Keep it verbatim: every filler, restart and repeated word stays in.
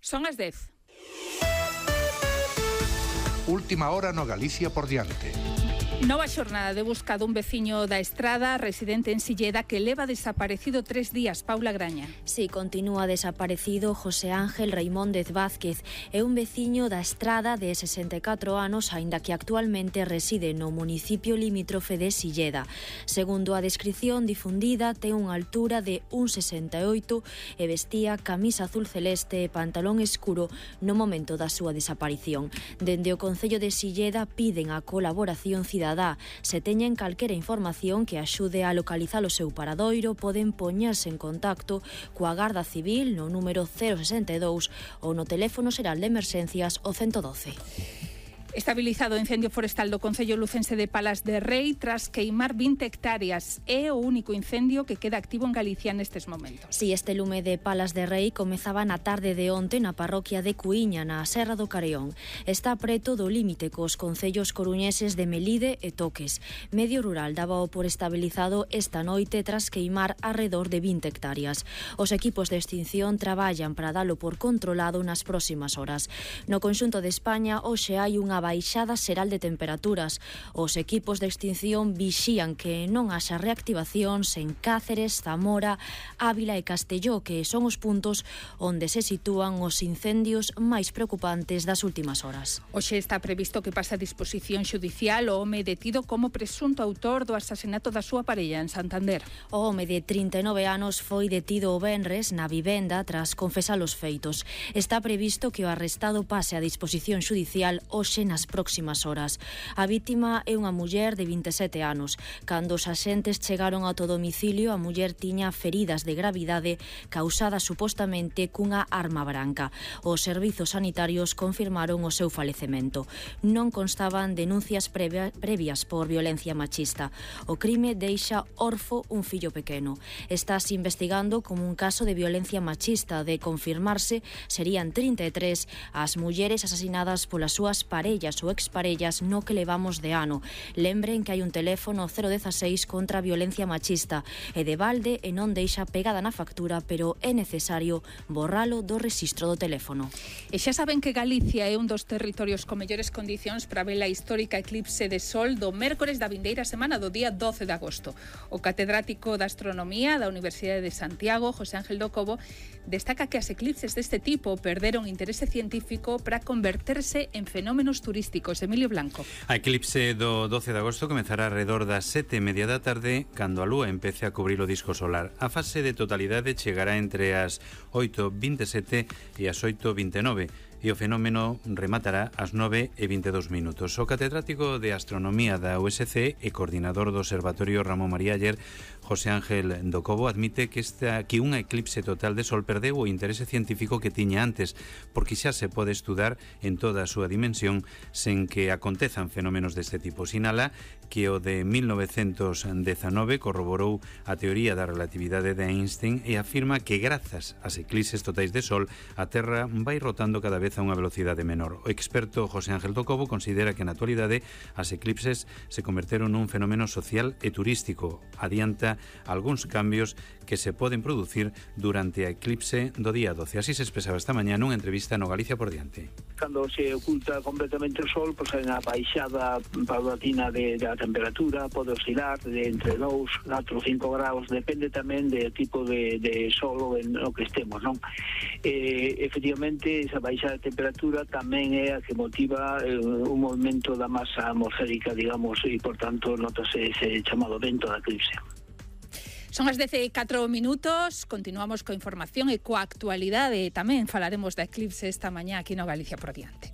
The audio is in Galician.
Son as dez. Última hora no Galicia por diante. Nova xornada de busca dun veciño da Estrada, residente en Silleda, que leva desaparecido tres días. Paula Graña. Sí, continúa desaparecido José Ángel Reimóndez Vázquez. É un veciño da Estrada de sesenta e catro anos, aínda que actualmente reside no municipio limítrofe de Silleda. Segundo a descrición difundida, ten unha altura de un sesenta e oito e vestía camisa azul celeste e pantalón escuro no momento da súa desaparición. Dende o Concello de Silleda piden a colaboración cidadá. Se teñen calquera información que axude a localizar o seu paradoiro, poden poñerse en contacto coa Garda Civil no número cero sesenta e dous ou no teléfono xeral de emerxencias o ciento doce. Estabilizado o incendio forestal do Concello lucense de Palas de Rei tras queimar vinte hectáreas. É o único incendio que queda activo en Galicia nestes momentos. Si, este lume de Palas de Rei comezaba na tarde de onte na parroquia de Cuíña, na Serra do Careón. Está preto do límite cos concellos coruñeses de Melide e Toques. Medio Rural dábao por estabilizado esta noite tras queimar arredor de vinte hectáreas. Os equipos de extinción traballan para dalo por controlado nas próximas horas. No conxunto de España, hoxe hai unha baixada xeral de temperaturas. Os equipos de extinción vixían que non haxa reactivacións en Cáceres, Zamora, Ávila e Castelló, que son os puntos onde se sitúan os incendios máis preocupantes das últimas horas. Hoxe está previsto que pase a disposición xudicial o home detido como presunto autor do asasinato da súa parella en Santander. O home de trinta e nove anos foi detido o venres na vivenda tras confesar os feitos. Está previsto que o arrestado pase a disposición xudicial hoxe nas próximas horas. A vítima é unha muller de vinte e sete anos. Cando os axentes chegaron ao domicilio, a muller tiña feridas de gravidade causadas supostamente cunha arma branca. Os servizos sanitarios confirmaron o seu falecemento. Non constaban denuncias previa, previas por violencia machista. O crime deixa orfo un fillo pequeno. Estás investigando como un caso de violencia machista. De confirmarse, serían trinta e tres as mulleres asasinadas polas súas parellas ou exparellas no que levamos de ano. Lembren que hai un teléfono cero dieciséis contra a violencia machista e de balde e non deixa pegada na factura, pero é necesario borralo do rexistro do teléfono. E xa saben que Galicia é un dos territorios con mellores condicións para ver a histórica eclipse de sol do mércores da vindeira semana do día doce de agosto. O catedrático de Astronomía da Universidade de Santiago, José Ángel do Cobo, destaca que as eclipses deste tipo perderon interese científico para converterse en fenómenos turísticos. Emilio Blanco. A eclipse do doce de agosto comezará alrededor das sete e media da tarde, cando a lúa empece a cubrir o disco solar. A fase de totalidade chegará entre as oito e vinte e sete e as oito e vinte e nove. E o fenómeno rematará ás nove e vinte e dous minutos. O catedrático de Astronomía da U S C e coordinador do Observatorio Ramón María Aller, José Ángel do Cobo, admite que, esta, que unha eclipse total de sol perdeu o interese científico que tiña antes, porque xa se pode estudar en toda a súa dimensión sen que acontezan fenómenos deste tipo. Sinala que o de mil novecentos dezanove corroborou a teoría da relatividade de Einstein e afirma que grazas ás eclipses totais de sol a Terra vai rotando cada vez a unha velocidade menor. O experto José Ángel do Cobo considera que na actualidade as eclipses se converteron nun fenómeno social e turístico. Adianta algúns cambios que se poden producir durante a eclipse do día doce. Así se expresaba esta mañá nunha entrevista no Galicia por diante. Cando se oculta completamente o sol, pois hai unha baixada paulatina de, de a temperatura, pode oscilar de entre dous, catro, cinco graus, depende tamén do tipo de, de sol en o que estemos, non? Eh, efectivamente, esa baixada de temperatura tamén é a que motiva eh, un movimento da masa atmosférica, digamos, e, por tanto, notase ese chamado vento da eclipse. Son as dez e catro minutos, continuamos coa información e coa actualidade. Tamén falaremos da eclipse esta mañá aquí no Galicia por diante.